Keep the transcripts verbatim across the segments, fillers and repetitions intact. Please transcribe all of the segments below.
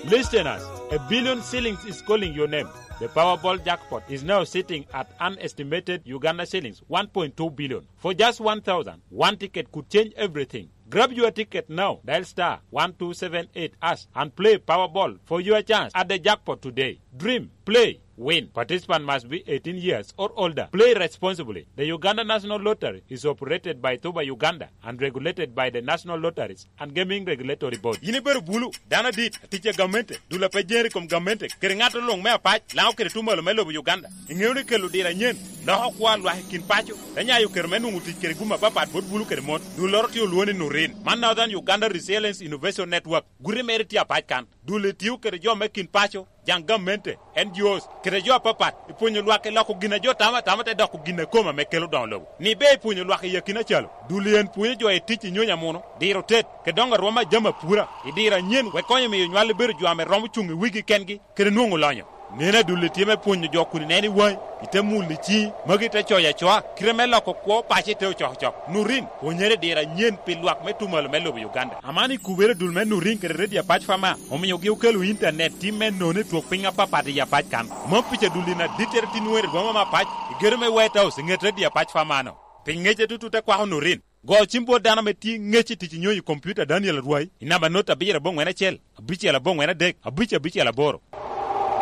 Listeners, a billion shillings is calling your name. The Powerball jackpot is now sitting at an estimated Uganda shillings one point two billion. For just one thousand, one ticket could change everything. Grab your ticket now. Dial star one two seven eight hash and play Powerball for your chance at the jackpot today. Dream, play, win. Participant must be eighteen years or older. Play responsibly. The Uganda National Lottery is operated by Tuba Uganda and regulated by the National Lotteries and Gaming Regulatory Board. Yin ibedo bulu, dano adit, atic a gamente, dul a pe jeri i kom gamente, kede ŋat luŋ me apac, Lango kede tuŋ malo me lobo Uganda. Iŋeo ni kelo diro anyen loko kwo a lwak i kin paco, te nyayo kero me nwoŋo tic kede gum apapat bot bulu kede mon. Dulloro tye olwoŋo ni Nurin, man Northern Uganda Resilience Innovation Network. Guti mere tye apac kan. Dul etio kede jo me kin paco, jaŋ gamente, N G Os, kede jo apapat, i pwonyo lwak i loko gin a jo tamo atama te doko gin a kome ame kelo doŋo lobo. Ni ber i pwonyo lwak i akina calo, dul en pwonyo jo i tic i nyonyo amuno, diro tet, kede doŋo arwom a jami apura, i diro anyen wek konyo miyo nywal ebedo jo ame romo cuŋ i wigi kengi, kede nwoŋo lonyo. Nen adulli tye me pwonyo jo kun ineno i waŋi, ite mulo i ciŋi, magi te coyo acoa, kite me loko kwo paco ite ocokocok. Nurin, pwonyere i diro anyen pi lwak me tuŋ malo me lobo Uganda. Aman i kubere dul me Nurin kede Redio Apac Fama, omiogi okelo intanet tim me nono i twok piny apapat i Apac kan. Mom pica dul in adittere tin were rwoma me apac, i gedo me White House i ŋet Redio Apac Fama-no. Pi ŋec atutu te kwako Nurin. Go cim bot dano ame tye ŋec i tic i nyonyo i kompiuta Daniel Arwai i namba not abiro aboŋwen acel, abicel aboŋwen adek, abic abicel aboro.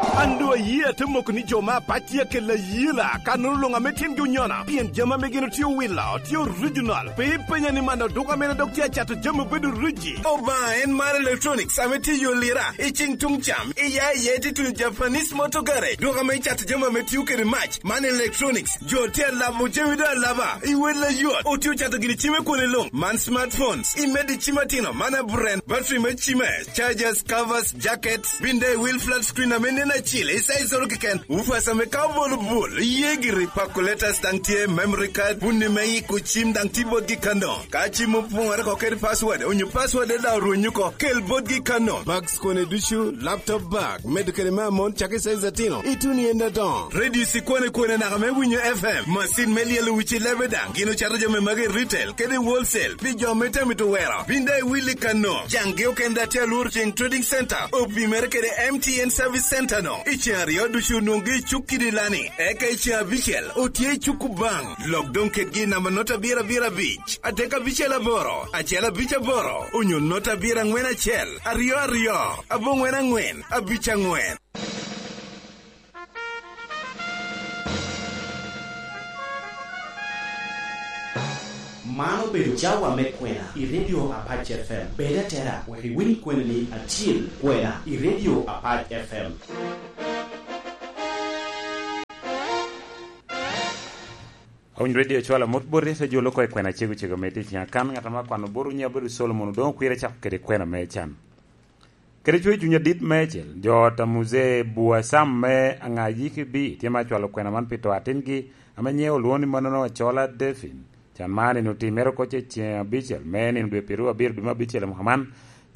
An doŋ aye ate moko ni jo me apac tye akelo ayela, kannono luŋ ame tyengi onyono, pien jami ame gin otye owilo tye orijinal. Pe ipenya ni man oduk ame dok tye acato jami obedo riji. Obaŋa en mar electronics ame tye i yo lira, i ciŋ tuŋ cam, iya iye tye tuŋ Japanese motor garage, dok ame icato jami ame tio kede mac. Man electronics, jo tye alabo jami doŋ alaba, i wel ayot, otye ocato gini cim i kwone luŋ. Man smartphones, i medo i cim atino, man aburen, battery me cime, chargers, covers, jackets, bin daŋ i wil flat screen ame nen acil, i size oro keken, woofers ame ka obolo bul, iye giri, calculators daŋ tye, memory card, bunni me yiko cim daŋ tye botgi kano. Ka cim opoŋore oko kede password, onyo password daŋ orwenyo oko, kel botgi kano. Bags kone ducu, laptop bag, medo kede me amon, cak i size atino, ituno i en adoŋo. Radio cikwane kwane naka me winyo F M, macin me lyelo wici lebe daŋ, gin ocato jami magi i retail kede wholesale, pi jo me tamito wero. Bin daŋ iwil i kano. Jaŋgi okene daŋ tye alworo ceŋ Trading Center, opimere kede M T N Service Center no. I ceŋ aryo ducu onwoŋgi i cuk kidi lani, eka i ceŋ abicel otye i cuk Kubaŋ. Lok doŋ kedgi i namba not abiro abiro abic, adek abicel aboro, acel abic aboro, onyo not abiro aŋwen acel, aryo aryo, aboŋwen aŋwen, abic aŋwen. Man obedo cawa me kwena i Radio Apac F M. Bed atera wek iwiny kwenani acil, kwena i Radio Apac F M. Awiny Radio cwalo amut boti, te jolo oko i kwena cego cego me tic. Akan ŋat ame akwano botwu nyiŋe abedo Solomon, odoŋo kwira cako kede kwena me can. Kede cwer cuny adit meicel, jo ot a Muzee Bua Sam me Aŋayiki B tye me acwalo kwena man pi to atingi ame nyiŋe olwoŋo ni manono Acola Defin. Can man nino otimere oko ce ceŋ abicel me nino dwe pyeraryo abiro dwe me abicel i mwaka man,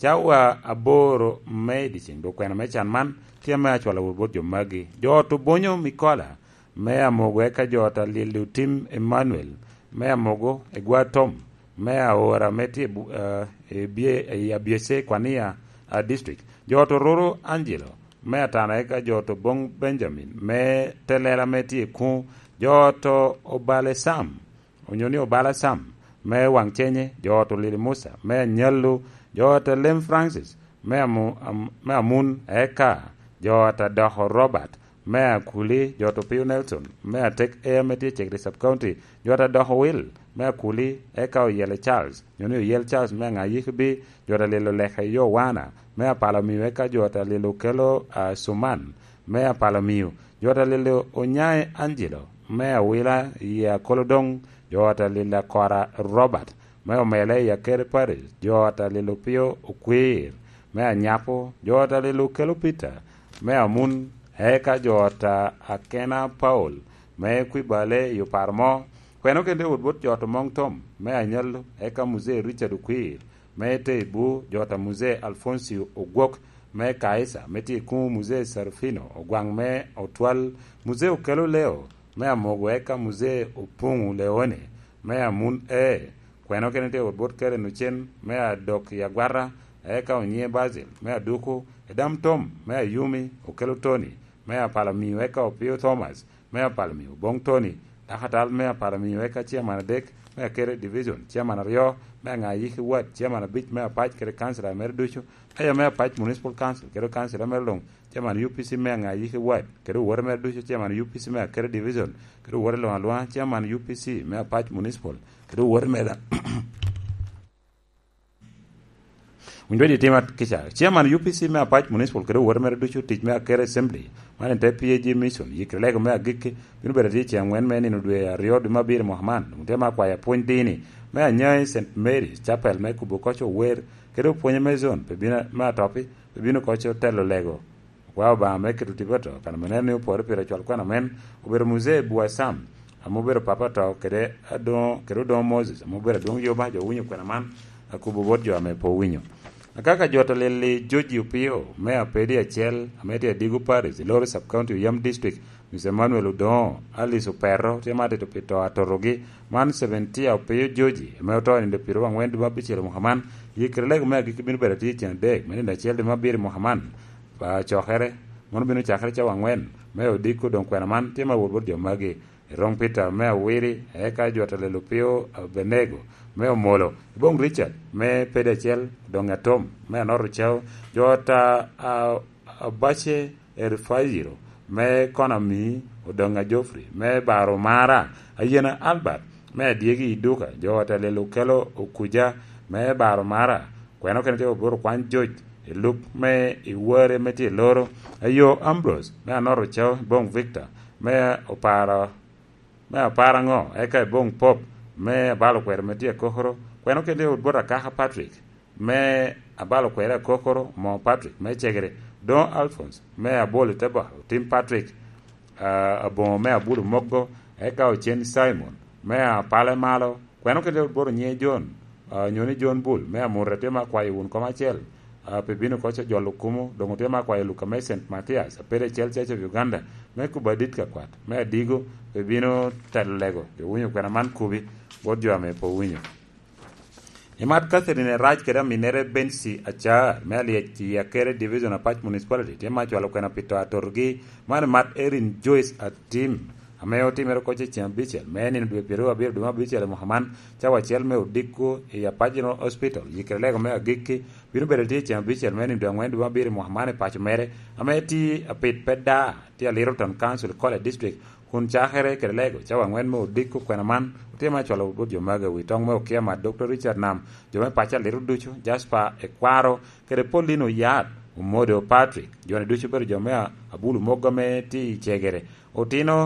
cawa aboro me i dyeceŋ. Dok kwena me can man tye ame acwalo wot bot jo magi. Jo ot Obonyo Mikola me Amogo, eka jo ot a Lilo Tim Emmanuel me Amogo, Egwa Tom me Aora me tye i Bu-, eh, i Bye-, i Abyece, Kwania, ah, District. Jo ot Ororo Angelo me Atana, eka jo ot Obong Benjamin me Telela me tye i Kuŋ. Jo ot Obale Sam, onyo ni Obala Sam me Waŋcenye, jo ot Olili Musa me Anyallo, jo ot Alem Francis me Amu-, Am-, me Amun, eka jo ot Adoko Robert me Akuli, jo ot Opio Nelson me Atek Air me tye Cegri Sub County, jo ot Adoko Will me Akuli, eka Oyele Charles, nyo ni Oyel Charles me Aŋayiki B, jo ot Alilo Leke Yowana me Apalo Miyo, eka jo ot Alilo Kelo, ah, Suman me Apalo Miyo, jo ot Alilo Onyae Angelo me Awila i Akolodoŋ, jo ot Alilo Akora Robert me Omele i Akere Parish, jo ot Alilo Pio Okwir me Anyapo, jo ot Alilo Kelo Peter me Amun, eka jo ot Akena Paul me Kwibale i Oparo Mo. Kwena okene tye wot bot jo ot Omoŋ Tom me Anyallo, eka Muzee Richard Okwir me Teibu, jo ot a Muzee Alfoncio Ogwok me Kaisa, me tye i Kuŋ Muzee Serafino Ogwaŋ me Otwal, Muzee Okelo Leo me Amogo, eka Muzee Opuŋu Leone me Amun E. Kwena okene tye wot bot Karen Ocen me Adok i Agwata, eka Onyiŋe Basil me Aduku, Edam Tom me Ayumi, Okelo Tony me Apalamiu, eka Opio Thomas me Apalamiu, Oboŋ Tony, dako atal me Apalamiu, eka Chairman adek me Akere Division, Chairman aryo me Aŋayiki Ward, Chairman abic me Apac kede Councilor mere ducu, Meya me Apac Municipal Council kede Councilor mere luŋ, Chairman U P C me Aŋayiki Ward kede owote mere ducu, Chairman U P C me Akere Division kede owote luŋ alwaŋa, Chairman U P C me Apac Municipal kede owote mere. Winy dwedi tima kica. Chairman U P C me Apac Municipal kede owote mere ducu, tic me Akere Assembly, man en te P A G Mission, yikere lego me agikki, bino bedo atye ceŋ angwen me nino dwe aryo, dwe me abiro i mwaka man. Doŋ tye me akwayo apwony dini me Anyai Saint Mary Chapel me kubo koc ower, kede opwonye me zone, pe bino me atoppi, pe bino koc otelo lego. Okwao Obaŋa me keto tipo ato, kan ame neno ni opore pire cwal kwena men, obedo Muzee Buasam, ame obedo papa ato, kede Adoŋo, kede Odoŋo Moses, ame obedo adwoŋ yoba, jo owinyo kwena man, akubo bot jo ame pe owinyo. Akaka jot alili George Opio, me Apedi acel, ame tye Adigo Parish, i Loro Sub County, Oyam District, Mister Emmanuel Odoŋo, Alice Opero, tye ma tito pi to atotogi, man Seventia Opio George, ame oto i nino piro angwen dwe me abicel i mwaka man, yikere lego me agikki bino bedo atye i cen adek, me nino acel dwe me abiro i mwaka man, pa cokere, mano bino cakere cawa angwen, me odiko doŋ kwena man tye ma wot bot jo magi. Erong Peter me Awiri, eka jot alelo Opio Abenego, me Omolo, Iboŋ Richard, me Pedi acel, doŋ Atom, me Anoro Cao, jot a, a, Abace Erifayiro, me Konami, Odoŋa Geoffrey, me Baro Mara, Ayena Albert, me Adyegi Iduka, jot alelo Okelo Okuja, me Baro Mara, kweno kene tye oboro kwany joc, i lub me i ware me tye i Loro, Ayo Ambrose, me Anoro Cao, Iboŋ Victor, me Opara, me Apara ŋo, eka Iboŋ Pop, me Abalo Kwero me tye Akokoro, kweno kene tye oboro Akaka Patrick, me Abalo Kwero Akokoro, Mo Patrick, me Cegere, Doŋo Alphonse, me Abol i Teba, Otim Patrick, ah, Aboŋo me Abulu Moggo, eka Ocen Simon, me Apale Malo, kweno kede oboro nyiŋe John, ah, nyo ni John Bull, me Amurra tye ma kwayo wun koma acel, ah, pe bino koc ojolo kumo, doŋ otye ma kwayo Luka me Saint Mathias, Apedi acel Church of Uganda, me kubo adit ka kwat, me Adigo, pe bino telo lego, jo winyo kwena man kubi, bot jo ame pe owinyo. Imat Catherine Erac kede aminere Bensi Acar, me Alyec i Akere Division Apac Municipality, tye ma cwalo kwena pi to atotogi, man imat Erin Joyce Atim, ame otimere koc i ceng abicel, me nino dwe pyeraryo abiro dwe me abicel i mwaka man, cawa acel me odiko i Apac General Hospital, yikere lego me agikki, bino bedo tye i ceng abicel me nino dwe angwen dwe me abiro i mwaka man i paco mere, ame tye apit pe da, tye a Little Town Council, Kole District, kun cakere kede lego cawa angwen me odiko kwena man, otye ma cwalo bot jo magi wi toŋ me okia mat Doctor Richard Nam, jo me paco alito ducu, Jasper Ekwaro, kede Paulino Yat, Omodo Patrick, jo-ni ducu obedo jo me a-, Abulu Moggo ame tye i Cegere. Otino